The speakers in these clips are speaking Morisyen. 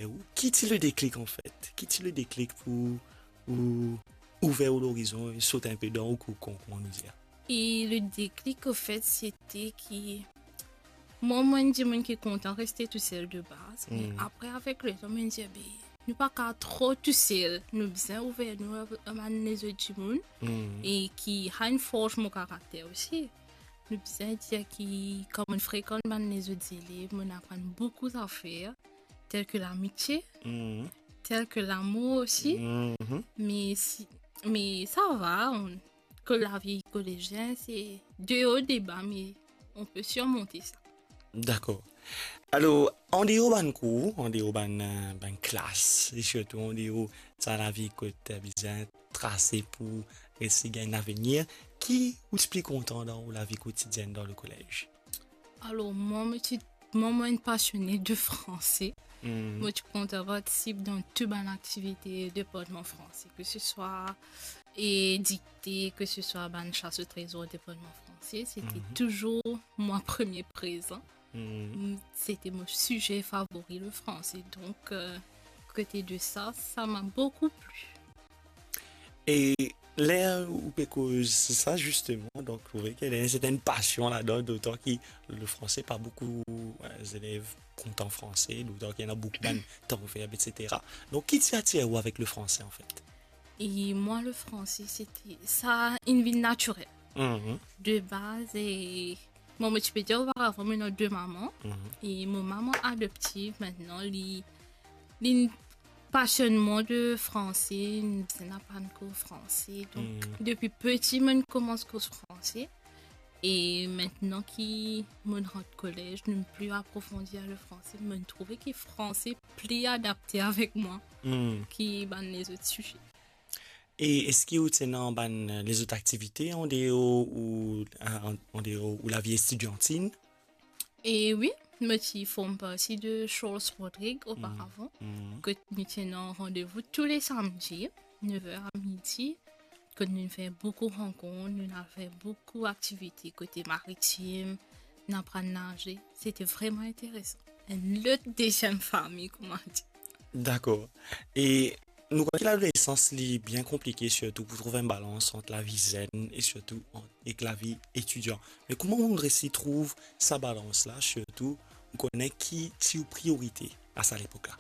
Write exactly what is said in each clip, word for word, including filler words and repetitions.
E ou, ki ti le deklik, anfet? Ki ti le deklik pou ou ouver ou lorizon e sot inpe dan ou kokon, kouma nou dir? E le deklik, anfet, sete ki mwa, mo enn dimoun ki kontan reste tousel de baz, me apre, avek letan, mo dir, be, nou pa kav tro tousel, nou bizin ouver nou a, a bann lezot dimoun, e ki ena enn fors mo karakter osi. Nou bizin dir ki, kan mo frekant bann lezot zelev, mo aprann boukou zafer, tel ke lamitie, tel ke lamour osi. Me si, me sa va, on, kot lavi kolezien, se de o, de ba, me on pe sirmonte sa. Dakor. Alor, andeor bann kour, andeor bann, eh, bann klas, e sirtou andeor sa lavi kot, eh, bizin trase pou resi gagn lavenir, ki ou ti pli kontan dan ou lavi kotidienn dan lekolez? Alor, mwa, mo ti, mwa, mo enn pasione de franse. Mo ti kontan partisip dan tou bann aktivite departman franse, ke se swa, e, dikte, ke se swa bann sas o trezor departman franse, sete touzour mwa premie prezan. Mm, sete mo size favori, le franse. Donk, eh, kote de sa, sa m'a boukou pli. E ler ou pe koz sa, zisteman, donk, ou trouve ki ena enn sertenn pasion ladan, dotan ki le franse, pa boukou, eh, zelev kontan franse, dotan ki ena boukou bann tanverb, etsetera. Donk, ki ti atir ou avek le franse, anfet? E mwa, le franse, sete, sa inn vinn natirel. De baz, e mwa, mo ti pe dir oparavan, mo ena de mama. E mo mama adoptiv, aster li, li pasionn mwa de franse, li bizin aprann kour franse. Donk, depi piti, mo koumans koz franse. E aster ki mo rant kolez, nou pli aprofondi le franse, mo trouve ki franse pli adapte avek mwa ki bann lezot size. E eski ou ti ena bann, eh, lezot aktivite andeor ou, eh, an-, andeor ou lavi etidiantin? E wi, mo ti form parti de Charles Rodrigues oparavan, kot nou ti ena randevou tou le samdi, nev er a midi, kot nou fer boukou rankont, nou al fer boukou aktivite kote maritim, nou aprann naze. Sete vreman interesan. Enn lot deziem fami, kouma dir. Dakor. E nou konn ki ladolesans, li bien konplike, sirtou pou trouv enn balans ant lavi zenn e sirtou ant, ek lavi etidian. Me kouma ou resi trouv sa balans la, sirtou ou kone ki ti ou priorite a sa lepok la?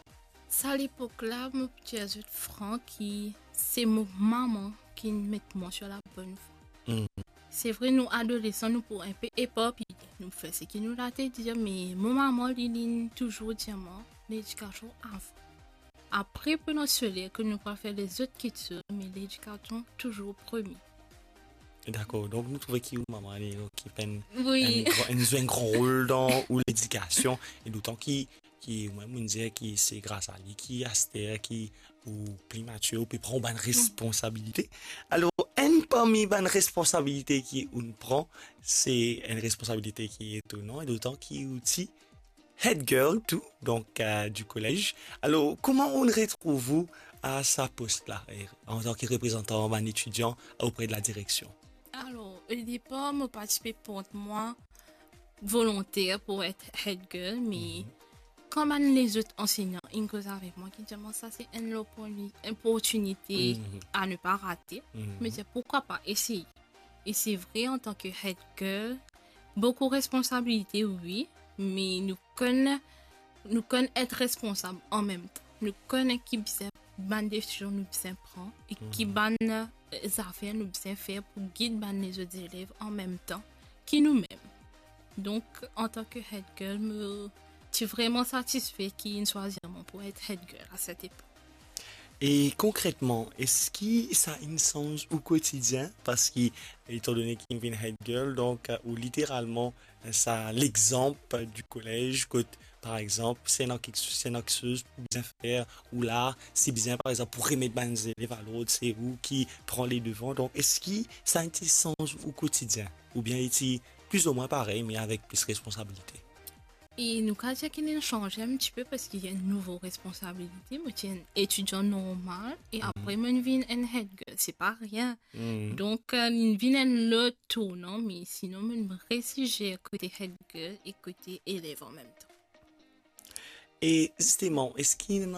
Sa lepok la, mo pou dir zot fran ki se mo mama ki met mwa sir labonn vwa. Se vre, nou adolesan, nou pou enpe eparpiye, nou fer seki nou la te dir, me mo mama, li, li touzour dir mwa, ledikasion avan. Apre, pandan soler, ke nou pou fer lezot kiksoz, me ledikasion touzour premie. Dakor, donk nou trouve ki ou mama, li, donk, ki pe enn, wi, enn gran, enn, zwe enn gran rol dan ou ledikasion, e dotan ki, ki, mwa, mo dir ki se gras a li ki aster ki ou pli matir, ou pe pran ou bann responsabilite. Alor, enn parmi bann responsabilite ki ou pran, se enn responsabilite ki etonan, e dotan ki ou ti head girl tou, donk, eh, di kolez. Alor, kouma ou retrouv ou a sa pos la, eh, antan ki reprezantan bann etidian opre de la direksion? Alor, o depar, mo pa ti pe port mwa volonter pou et head girl, me kan bann lezot ansegnan inn koz avek mwa, ki dir mwa sa se enn loporni-, oportinite a ne pa rate, mo dir, poukwa pa eseye? E se vre, antan ki head girl, boukou responsabilite, wi, me nou konn, nou konn et responsab anmemtan. Nou konn ki bizin, bann desizion nou bizin pran e ki bann, eh, zafer nou bizin fer pou gid bann lezot zelev anmemtan ki noumem. Donk, antan ki head girl, mo ti vreman satisfe ki inn swazir mwa pou et head girl a set epok. E konkretman, eski sa inn sanz ou kotidien? Parski, etandone ki ou vinn head girl, donk, ou literalman, sa legzanp di kolez, kot, par exanp, si ena kik-, si ena kiksoz pou bizin fer, ou la, si bizin, par exanp, pou remet bann zelev a lord, se ou ki pran ledevan. Donk, eski sa inn ti sanz ou kotidien? Oubien li ti plizoumwin parey, me avek plis responsabilite? E nou kav dir ki inn sanze enn tipe parski ena nouvo responsabilite. Mo ti enn etidian normal e apre mo vinn enn head girl, se pa rien. Donk, eh, li vinn enn lot tournan, me sinon mo resi zer kote head girl e kote elev anmemtan. E zisteman, eski ena